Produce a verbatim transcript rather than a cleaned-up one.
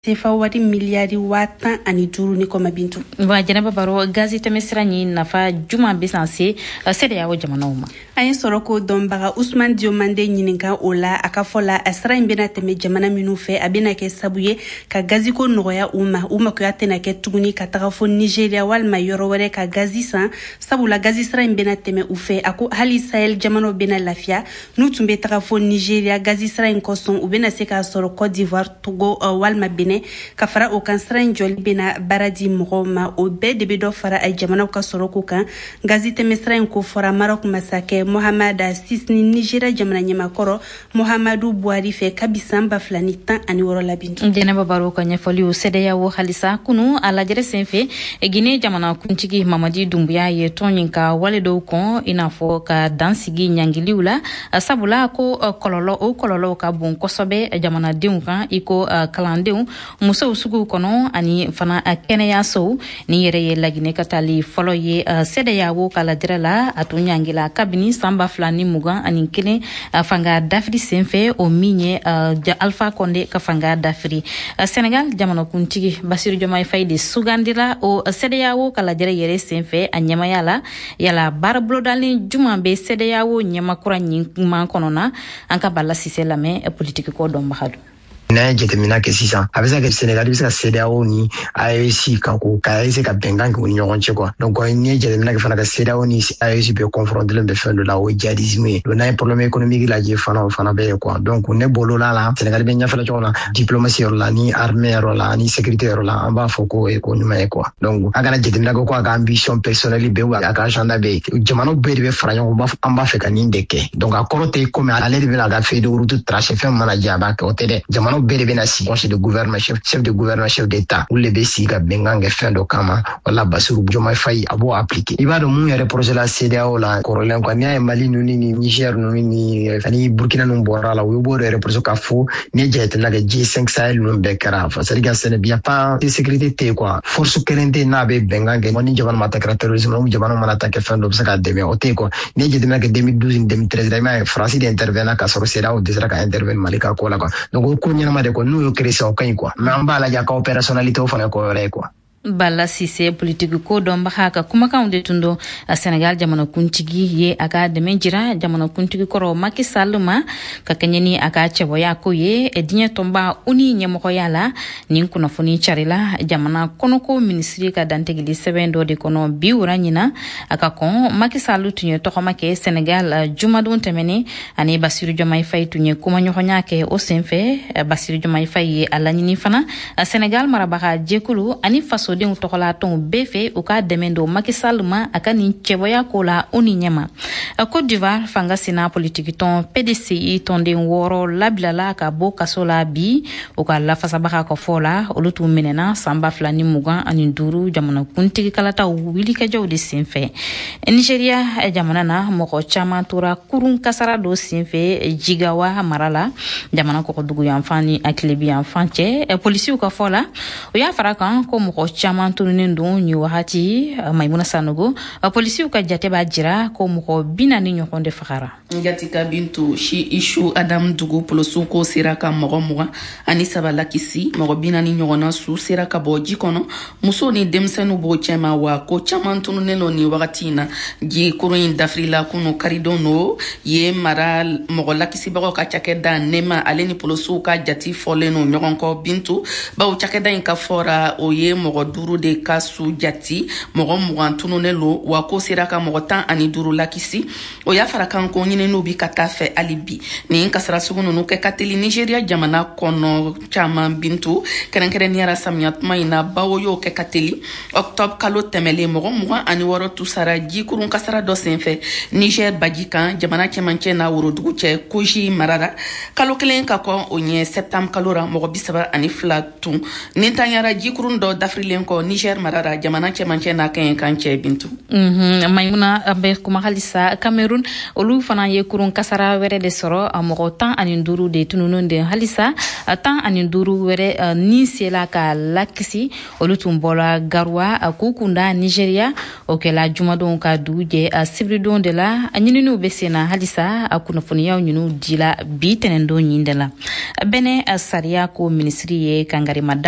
Sefa wari miliyari waa tan ani duuru ni kɔma, Bintu. Wa Jɛnɛba Baro, gazi tɛmɛsira ɲi nafa juman bɛ san se CEDEAO jamanaw ma? An ye sɔrɔ ko dɔnbaga Usman Diomande ɲininka o la. A ka fɔ la, a sira in bɛna tɛmɛ jamana minnu fɛ, a bɛna kɛ sabu ye ka gaziko nɔgɔya u ma. U makoya tɛna kɛ tuguni ka taga fo Nigeria walima yɔrɔ wɛrɛ ka gazi san, sabula gazi sira in bɛna tɛmɛ u fɛ. A ko hali Sahel jamanaw bɛna lafiya. N'u tun bɛ taga fo Nigeria gazi sira in kosɔn, u bɛna se k'a sɔrɔ Côte d'Ivoire, Togo walima Benin. Ka fara o kan, sira in jɔli bɛna baara di mɔgɔw ma. O bɛɛ de bɛ dɔ fara a jamanaw ka sɔrɔko kan. Gazi tɛmɛ sira in ko fɔra Maroc masakɛ Mohammed six ni Nigeria jamana ɲɛmakɔrɔ Muhammadu Buhari fɛ kabi san ba fila ni tan ani wɔɔrɔ la, Bintu. Jɛnɛba Baro ka ɲɛfɔliw. CEDEAO halisa, kunu a lajɛrɛ senfɛ, Guinée jamana kuntigi Mamadi Dumbuya ye tɔn ɲin ka wale dɔw kɔn, i n'a fɔ ka dan sigi ɲangiliw la, sabula ko kɔlɔlɔ o kɔlɔlɔw ka bon kosɛbɛ jamanadenw kan, i ko kalandenw, musow suguw kɔnɔ ani fana kɛnɛyasow. Ni yɛrɛ ye Laginɛ ka taali fɔlɔ ye CEDEAO ka lajɛrɛ la. A tun ɲangila kabini san ba fila ni mugan ani kelen fanga dafiri senfɛ, o min ye Alpha Condé ka fanga dafiri. Senegal jamanakuntigi Basiru Diomaye Faye de sugandira o CEDEAO ka lajɛrɛ yɛrɛ senfɛ a ɲɛmaya la. Yala baara bolodalen juman bɛ CEDEAO ɲɛmakura ɲin kɔnɔ na? An ka Bala Sise lamɛn, politiki ko dɔnbaga don. N'an ye jateminɛ kɛ sisan, a bɛ se ka kɛ Senegal bɛ se ka CEDEAO ni A E S kan ko ka essayer ka bɛnkan kɛ u ni ɲɔgɔn cɛ quoi. Donc n'i ye jateminɛ kɛ fana, ka CEDEAO ni A E S bɛɛ confronté bɛ fɛn dɔ la, o ye djihadisme ye. Donc n'an ye problème économique lajɛ fana, o fana bɛ yen quoi. Donc ne bolo la la Senegal bɛ ɲɛfɛla cogo min na, diplomatie yɔrɔ la ni armée yɔrɔ la ani sécurité yɔrɔ la, an b'a fɔ ko o ye ko ɲuman ye quoi. Donc a kana jateminɛ kɛ ko a ka ambition personnelle bɛ yen, a ka agenda bɛ yen. Jamanaw bɛɛ de bɛ fara ɲɔgɔn kan, an b'a fɛ ka nin de kɛ. Donc a kɔrɔ tɛ komi ale de bɛna a ka feuille de route tracer, fɛn mana diya a b'a kɛ, o tɛ dɛ. Jamanaw bɛɛ de bɛna sigi, conseil de gouvernement, chef, chef de gouvernement, chef d'état, olu de bɛ sigi ka bɛnkan kɛ fɛn dɔ kama. Wala Basiru Diomaye Faye a b'o appliquer. I b'a dɔn mun yɛrɛ projet la CEDEAO la kɔrɔlen quoi, n'i y'a ye Mali ninnu ni Niger ninnu ni ani Burkina ninnu bɔra la, u b'o de reprocher k'a fɔ n'i ye jateminɛ kɛ, G cinq Sahel ninnu bɛɛ kɛra, c'est à dire que ce n'est bien pas sécurité tɛ yen quoi. Force kelen tɛ yen n'a bɛ bɛnkan kɛ ni jamana ma ta kɛra terrorisme, ni jamana mana ta kɛ fɛn dɔ bɛ se k'a dɛmɛ, o tɛ yen quoi. N'i ye jateminɛ kɛ deux mille douze ni deux mille treize la, i m'a ye Faransi de intervenir k'a sɔrɔ CEDEAO dɛsɛra ka intervenir Mali ka ko la quoi. Donc o ko ɲɛnama de quoi, n'u y'o créer sisan, o ka ɲi quoi, mais an b'a lajɛ a ka opérationnalité, o fana ye ko wɛrɛ ye quoi. Bala Sise, politiki ko dɔnbaga ka kumakanw de tun don. Senegal jamanakuntigi ye a ka dɛmɛ jira jamanakuntigi kɔrɔ Macky Sall ma ka kɛɲɛ ni a ka cɛbɔya ko ye diɲɛ tɔnba ONU ɲɛmɔgɔya la. Nin kunnafoni carila jamana kɔnɔko minisiri ka dantigili sɛbɛn dɔ de kɔnɔ bi wura ɲina. A ka kɔn, Macky Sall tun ye tɔgɔma kɛ Senegal jumadon tɛmɛnen, ani Basiru Diomaye Faye tun ye kumaɲɔgɔnya kɛ. O senfɛ, Basiru Diomaye Faye ye a laɲini fana Senegal marabaga jɛkulu ani fasodenw tɔgɔlatɔnw bɛɛ fɛ, u ka dɛmɛ don Macky Sall ma a ka nin cɛbɔya ko la o ni ɲɛma. Côte d'Ivoire fanga sina politikitɔn P D C I tɔnden wɔɔrɔ labilala ka bɔ kaso la bi. U ka lafasabaga ka fɔ la, olu tun minɛna san ba fila ni mugan ani duuru jamanakuntigi kalataw wulikajɔw de senfɛ. Nigeria jamana na, mɔgɔ caman tora kurun kasara dɔ senfɛ Jigawa mara la, jamana kɔgɔdugu yanfan ni a tilebi yanfan cɛ. Polisiw ka fɔ la, o y'a fara kan ko mɔgɔ caman tununnen don nin wagati. Maimuna Sanogo, polisiw ka jate b'a jira ko mɔgɔ bi naani ɲɔgɔn de fagara. Ngatika Bintu, si Isu Adam dugu polosiw ko sera ka mɔgɔ mugan ani saba lakisi. Mɔgɔ bi naani ɲɔgɔnna su sera ka bɔ ji kɔnɔ, musow ni denmisɛnninw b'o cɛma, wa ko caman tununnen don nin wagati in na. Ji kurun in dafirila kunu karidon no ye. Mara mɔgɔ lakisibagaw ka cakɛda NEMA ale ni polosiw ka jati fɔlen no ɲɔgɔn kɔ, Bintu, bawo cakɛda in ka fɔra o ye mɔgɔ duuru de ka su jati, mɔgɔ mugan tununnen lo, wa ko sera ka mɔgɔ tan ani duuru lakisi. O y'a fara kan ko ɲininiw bi ka taa fɛ hali bi. Nin kasara sugu nunu kɛ ka teli Nigeriya jamana kɔnɔ caman, Bintu, kɛrɛnkɛrɛnniyara samiya tuma in na, bawo y'o kɛ ka teli. Octobre kalo tɛmɛlen, mɔgɔ mugan ani wɔɔrɔ tusara jikurun kasara dɔ senfɛ Niger baji kan, jamana cɛmancɛ n'a worodugu cɛ, Kogi marara. Kalo kelen ka kɔn o ɲɛ, septembre kalo ra, mɔgɔ bisaba ani fila tun nintanyara jikurun dɔ dafirilen. tɛmɛnen kɔ, Niger mara ra, jamana cɛmancɛ n'a kɛɲɛ kan cɛ, Bintu. Maimuna, an bɛ kuma halisa. Cameroun, olu fana ye kurun kasara wɛrɛ de sɔrɔ. Mɔgɔ tan ani duuru de tununnen de. Halisa tan ani duuru wɛrɛ ni sela ka lakisi. Olu tun bɔra Garoua k'u kunda Nigeria. O kɛla jumadon ka dugu jɛ sibiridon de la. Ɲininiw bɛ sen na halisa. A kunnafoniyaw ɲiniw dila bi tɛnɛndon ɲin de la. Bɛnɛ sariya ko minisiri ye kangarimada.